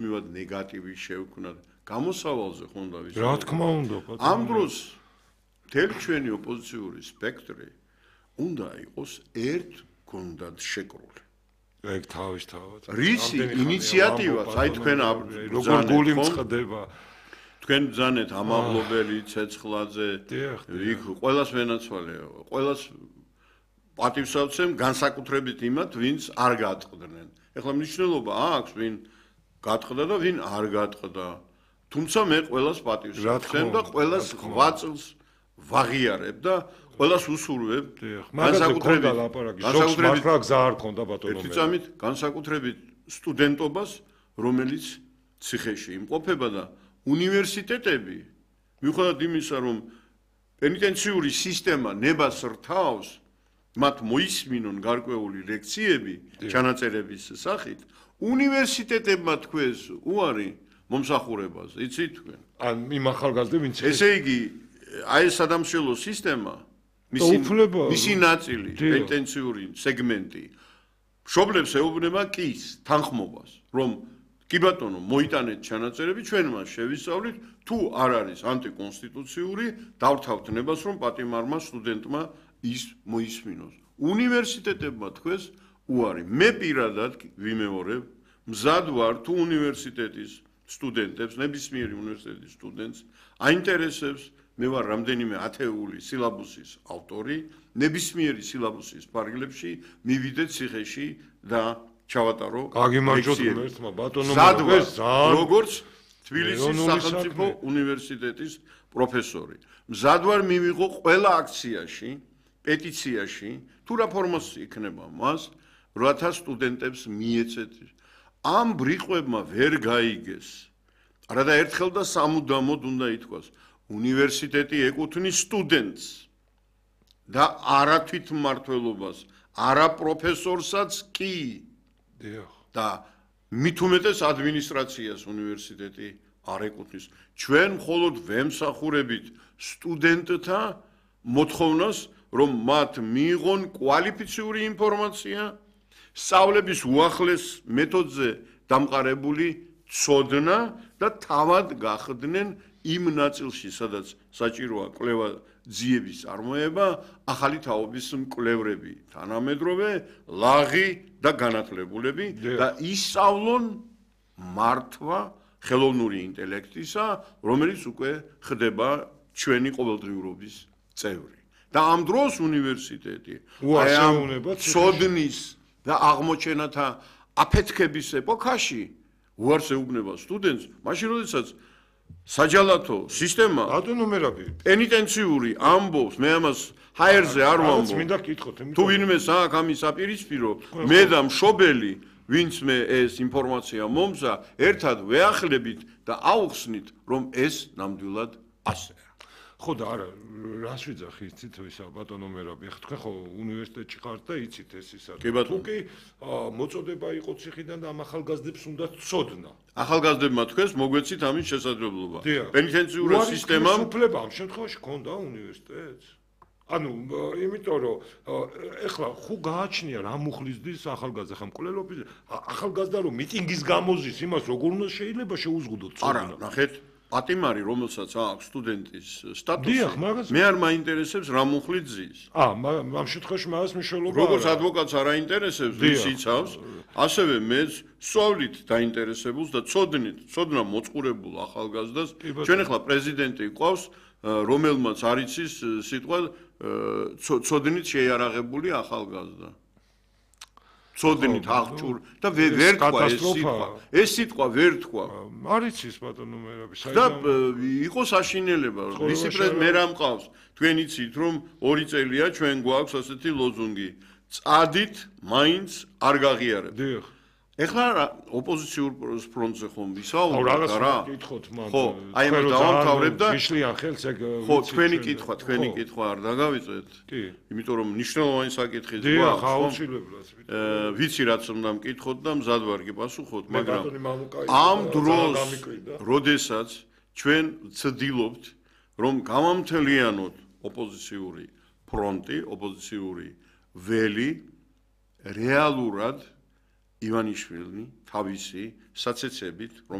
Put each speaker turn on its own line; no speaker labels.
მივად ნეგატივი შევქმნათ. გამოსავალზე ხონდა ვიცი.
რა თქმა უნდა,
ამ დროს მთელი ჩვენი ოპოზიციური სპექტრი უნდა იყოს ერთ გუნდად შეკრული.
ეგ თავისთავად.
რისი ინიციატივა, აი თქვენ
როგორ გული მწყდება.
თქვენ ბრძანეთ ამაღლობელი ცეცხლაძე, იქ ყველას ვენაცვალე, ყველას პატივსაცემ განსაკუთრებით იმათ, ვინც არ გატყდნენ. ეხლა მნიშვნელობა აქვს, ვინ გატყდა და ვინ არ გატყდა. თუმცა მე ყველას პატივსაცემ და ყველას 8 წელს ვაღიარებ და ყველას უსურვებ.
განსაკუთრებით მართლა გზა არ ქონდა ბატონო.
ერთი წამით განსაკუთრებით სტუდენტობას, რომელიც ციხეში იმყოფება და უნივერსიტეტები, მიუხედავად იმისა, რომ პენიტენციური სისტემა ნებას რთავს, მათ მოისმინონ გარკვეული ლექციები ჩანაწერების სახით, უნივერსიტეტებმა თქვეს უარი მომსახურებას, იცით თქვენ?
ან იმ ახალგაზრდებს, ვინც
ესე იგი, აი ეს სადამშრალო სისტემა, მისი ნაწილი, პენიტენციური სეგმენტი, მშობლებს ეუბნება კის, თანხმობას, რომ კი ბატონო, მოიტანეთ ჩანაწერები, ჩვენ მას შევისწავლით, თუ არ არის ანტიკონსტიტუციური, დავრთავთ ნებას, რომ პატიმარმა სტუდენტმა ის მოისმინოს. უნივერსიტეტებმა თქვეს უარი. მე პირადად ვიმეორებ, მზად ვარ თუ უნივერსიტეტის სტუდენტებს, ნებისმიერი უნივერსიტეტის სტუდენტს აინტერესებს, მე ვარ რამდენიმე ათეული სილაბუსის ავტორი, ნებისმიერი სილაბუსის ფარგლებში მივიდეთ ციხეში და ჩავატარო
გაგიმარჯოთ ღმერთმა ბატონო
როგორც თბილისის სახელმწიფო უნივერსიტეტის პროფესორი. მზად ვარ მივიღო ყველა აქციაში, პეტიციაში, თუ რა ფორმას იქნება მას, რათა სტუდენტებს მიეცეთ. ამ ბრიყვებმა ვერ გაიგეს. არადა ერთხელ და სამუდამოდ უნდა ითქვას, უნივერსიტეტი ეკუთვნის სტუდენტს და არა თვითმმართველობას, არა პროფესორსაც კი. და მით უმეტეს ადმინისტრაციას უნივერსიტეტი არ ეკუთვნის. ჩვენ მხოლოდ ვემსახურებით სტუდენტთა მოთხოვნას, რომ მათ მიიღონ კვალიფიციური ინფორმაცია, სწავლების უახლეს მეთოდზე დამყარებული ცოდნა და თავად გახდნენ იმ ნაწილში, სადაც საჭიროა კვლევა ძიების წარმოება, ახალი თაობის მკვლევრები, თანამედროვე, ლაღი და განათლებულები და ისწავლონ მართვა ხელოვნური ინტელექტისა, რომელიც უკვე ხდება ჩვენი ყოველდღიურობის წევრი. და ამ დროს უნივერსიტეტი აი ამ ცოდნის და აღმოჩენათა აფეთქების ეპოქაში უარს ეუბნება სტუდენტს, მაშინ როდესაც საჯალათო სისტემა პენიტენციური ამბობს, მე ამას ჰაერზე არ ვამბობ. თუ ვინმე საქმე ამის აპირისპირო, მე და მშობელი, ვინც მე ეს ინფორმაცია მომზა, ერთად ვეახლებით და აუხსნით, რომ ეს ნამდვილად ასეა.
ხო და არა, რას ვიძახი იცით ისა ბატონო მერაბი, ხა თქვენ ხო უნივერსიტეტში ხართ და იცით ეს ისა. თუ კი მოწოდება იყო ციხიდან და ამ ახალგაზრდებს უნდა ცოდნა. ახალგაზრდებმა თქვენს მოგვეცით ამის შესაძლებლობა. პენიტენციური სისტემა
უფლება
ამ შემთხვევაში ქონდა უნივერსიტეტს. ანუ იმიტომ რომ ეხლა ხუ გააჩნია რა მუხლისდის ახალგაზრდა ხა მკვლელობის ახალგაზრდა რომ მიტინგის გამოზის იმას როგორ უნდა შეიძლება შეუზღუდოთ
ცოდნა. არა, ნახეთ პატიმარი, რომელსაც აქვს სტუდენტის სტატუსი, მე არ მაინტერესებს რა მუხლით ზის.
ამ შემთხვევაში მას მნიშვნელობა არა.
როგორც ადვოკატს არ აინტერესებს, ვის იცავს, ასევე მე სწავლით დაინტერესებულს და ცოდნა მოწყურებულ ახალგაზრდას, ჩვენ ახლა პრეზიდენტი ყავს, რომელმაც არ იცის სიტყვა ცოდნით შეიარაღებული ახალგაზრდა. ცოდნით აღჭურ და ვერ თქვა ეს სიტყვა. ეს სიტყვა ვერ თქვა.
არ იცის ბატონო მერაბი,
და იყო საშინელება, ვისი პრეზიდენტი მე რა მყავს. თქვენ იცით რომ 2 წელია ჩვენ გვაქვს ასეთი ლოზუნგი. წადით, მაინც არ გაღიარებთ.
დიახ.
ეხლა ოპოზიციურ ფრონტზე ხომ ვისაუბროთ
რა?
ხო, აი ამ დავამთავრებ და
მიშლიან ხელს ეგ
ხო, თქვენი კითხვა არ დაგავიწყეთ. კი. იმიტომ რომ მნიშვნელოვანი საკითხი გვაქვს.
დიახ, აუცილებლად.
ვიცი რაც უნდა მკითხოთ და მზად ვარ გიპასუხოთ, მაგრამ ამ დროს, როდესაც ჩვენ ვცდილობთ, რომ გამამთლიანოთ ოპოზიციური ფრონტი, ოპოზიციური ველი რეალურად ივანიშვილი თავისი საცეცებით